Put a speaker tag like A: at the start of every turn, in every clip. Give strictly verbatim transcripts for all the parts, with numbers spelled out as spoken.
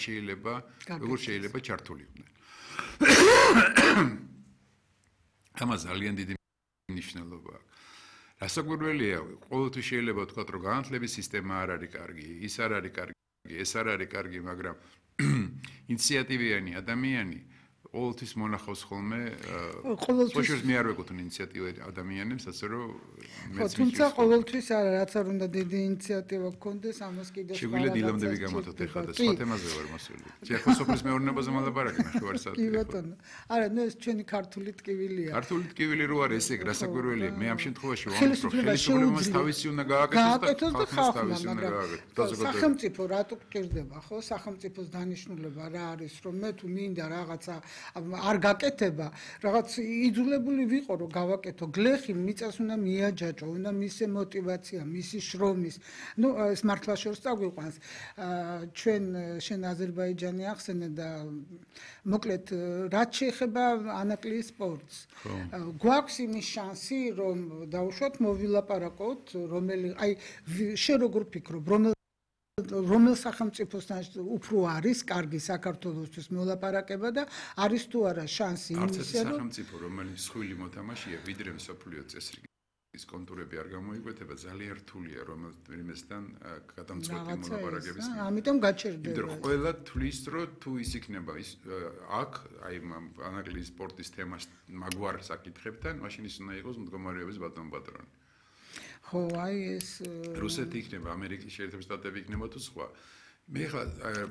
A: შეიძლება როგორ შეიძლება ჩართულიყვნენ. ამას ძალიან დიდი მნიშვნელობა აქვს. რასაკვირველია, ყოველთვის შეიძლება ვთქვათ, რომ განათლების სისტემა არ არის კარგი, ის არ არის კარგი, ეს არ არის კარგი, მაგრამ ინიციატივიანი ადამიანი ყოველთვის მონახავს ხოლმე ყოველთვის მე არ ვეკუთვნ ინიციატივები ადამიანებს, ასე რომ მეც
B: თუმცა ყოველთვის არა, რაც არ უნდა დიდი ინიციატივა გქონდეს, ამას კიდევ
A: შეგვიძლია დილამდე გამართოთ ახლა და სხვა თემაზე ვარ მოსული. ახლა სოფლის მეურნეობაზე მალაპარაკე ნახევარი საათი.
B: კი ბატონო. არა, ნუ ეს ჩვენი ქართული ტკივილია.
A: ქართული ტკივილი რო არის ესე რასაკვირველია, მე ამ შემთხვევაში ვამბობ, რომ ხელისუფლებამ თავისი უნდა გააკეთოს და ხალხმა თავისი უნდა გააკეთოს.
B: სახელმწიფო რატო გჭირდება, ხო? სახელმწიფოს დანიშნულება რა არის, რომ მე თუ მინდა რაღაცა არ გაკეთება, რაღაც იძულებული ვიყო, რომ გავაკეთო, გლეხი მიწას უნდა მიაჯაჭო, უნდა მისი мотиваცია, მისი შრომის. ნუ ეს მართლა შორს წაგვიყვანს. ჩვენ შენ აზერბაიჯანი ახსენე და მოკლედ რაც შეეხება ანაკლიის სპორტს. გვაქვს იმის შანსი, რომ დავუშვათ მოვილაპარაკოთ, რომელი აი შენ როგორ ფიქრობ, რომელ რომელ სახელმწიფოსთან უფრო არის კარგი საქართველოსთვის მოლაპარაკება და არის თუ არა შანსი
A: იმისა რომ სახელმწიფო რომელიც სხვილი მოთამაშეა ვიდრე მსოფლიო წესრიგის კონტურები არ გამოიკვეთება ძალიან რთულია რომელიმესთან გადამწყვეტი მოლაპარაკების
B: ამიტომ გაჩერდება
A: იმიტომ რომ ყველა თვლის რომ თუ ის იქნება ის აქ აი ანაკლიის სპორტის თემას მაგვარ საკითხებთან მაშინ ის უნდა იყოს მდგომარეობის ბატონ პატრონი
B: ხო აი ეს
A: რუსეთი იქნება ამერიკის შეერთებული შტატები იქნება თუ სხვა მე ხა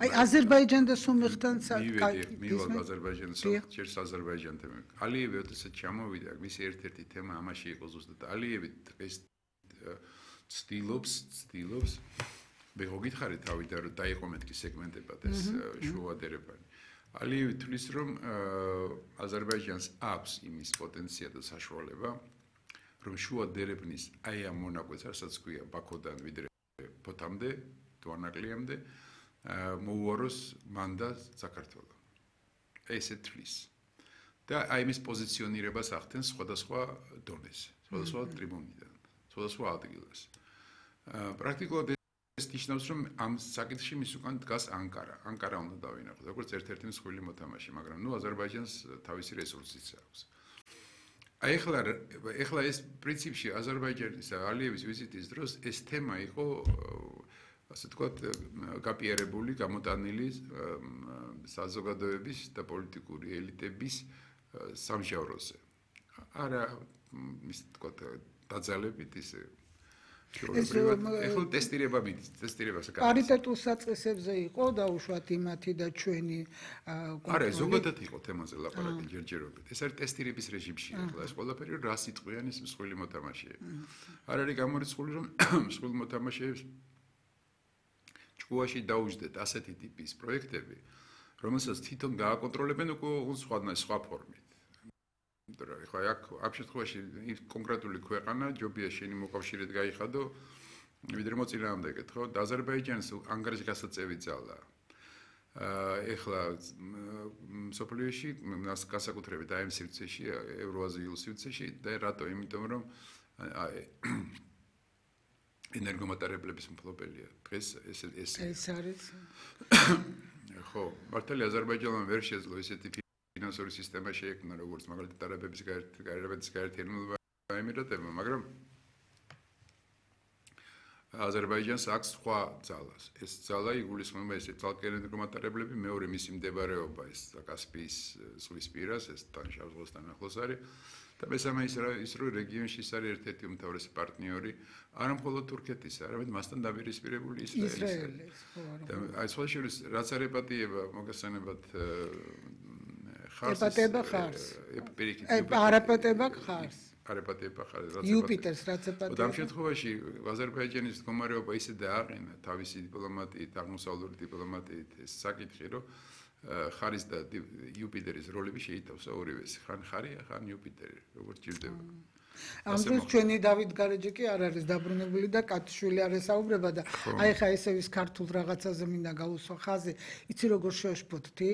B: აი აზერბაიჯან და სომეხთან
A: მივალ აზერბაიჯანს შეერს აზერბაიჯანთან ალიევი ოდესაც ჩამოვიდა მისი ერთ-ერთი თემა ამაში იყო ზუსტად ალიევი ეს ცდილობს ცდილობს მე გითხარი თავიდან რომ დაიყო მეთქი სეგმენტებად ეს შუადერებანი ალიევი თვლის რომ აზერბაიჯანს აქვს იმის პოტენცია და საშუალება რომ შუა დერეფნის აი ამ მონაკვეთს რასაც ქვია ბაქოდან ვიდრე ფოთამდე თუ ანაკლიამდე მოუაროს მანდა საქართველოს ესე თვლის და აი მის პოზიციონირებას ახდენს სხვადასხვა დონეზე სხვადასხვა ტრიბუნიდან სხვადასხვა ადგილას პრაქტიკულად ეს ნიშნავს რომ ამ საკითხში მის უკან დგას ანკარა ანკარა უნდა დავინახოთ როგორც ერთ-ერთი მსხვილი მოთამაშე მაგრამ ნუ აზერბაიჯანს თავისი რესურსიც აქვს აი ახლა ახლა ეს პრინციპში აზერბაიჯანის ალიევის ვიზიტის დროს ეს თემა იყო ასე ვთქვათ გაპიარებული, გამოტანილი საზოგადოების და პოლიტიკური ელიტების სამჟავროზე. არა ის ვთქვათ დაძალებით ისე ეხლა ტესტირება მიდის, ტესტირებას აკეთებს.
B: პარიტეტულ საწყისებზე იყო დაუშვათ იმათი და ჩვენი
A: არა, ზოგადად იყო თემაზე ლაპარაკი ჯერჯერობით. ეს არის ტესტირების რეჟიმში ახლა ეს ყველაფერი რა სიტყვიან ის მსხვილი მოთამაშეები. არ არის გამორიცხული რომ მსხვილ მოთამაშეებს ჭკუაში დაუჯდეთ ასეთი ტიპის პროექტები, რომელსაც თვითონ გააკონტროლებენ უკვე სხვა სხვა ფორმით. იმიტომ რომ ხა აქ ამ შემთხვევაში კონკრეტული ქვეყანა ჯობია შენი მოკავშირედ გაიხადო ვიდრე მოწინააღმდეგეთ ხო და აზერბაიჯანს ანგარიში გასაწევი ძალა ეხლა სოფლიოში განსაკუთრებით აი ამ სივრცეში ევროაზიულ სივრცეში და რატო იმიტომ რომ ენერგომატარებლების მფლობელია დღეს ეს ეს
B: ეს არის
A: ხო მართალია აზერბაიჯანმა ვერ შეძლო ესეთი ფინანსური სისტემა შეექმნა როგორც მაგალითად არაბების გარეთ გაერთიანებულმა ემირატებმა მაგრამ აზერბაიჯანს აქვს სხვა ძალას ეს ძალა იგულისხმება ესე ძალკენ ენერგომატარებლები მეორე მისი მდებარეობა ეს კასპიის ზღვის პირას ეს თან შავ ზღვასთან ახლოს არის და მესამე ის ის რომ რეგიონში ის არის ერთ-ერთი უმთავრესი პარტნიორი არა მხოლოდ თურქეთის არამედ მასთან დაპირისპირებული ისრაელი და აი სხვა შორის რაც არ ეპატიება მოგესალმებათ
B: ეპატება ხარს არაპატება ხარს
A: არაპატება ხარს
B: იუპიტერს რაც ეპატება
A: ამ შემთხვევაში აზერბაიჯანის მდგომარეობა ისე დააყენა თავისი დიპლომატიით აღმოსავლური დიპლომატიით ეს საკითხი რომ ხარის და იუპიტერის როლები შეითავსა ორივეს ხან ხარია ხან იუპიტერი როგორც ჭირდება
B: ამ დროს ჩვენი დავით გარეჯი კი არ არის დაბრუნებული და კატიშვილი არ ესაუბრება და აი ხა ესე ვის ქართულ რაღაცაზე მინდა გაუსვა ხაზი იცი როგორ შეშფოთთი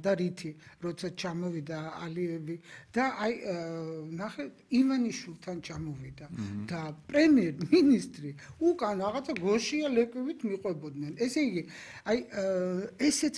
B: და რითი როცა ჩამოვიდა ალიევი და აი ნახე ივანიშვილთან ჩამოვიდა და პრემიერ მინისტრი უკან რაღაცა გოშია ლეკვივით მიყვებოდნენ ესე იგი აი ესეც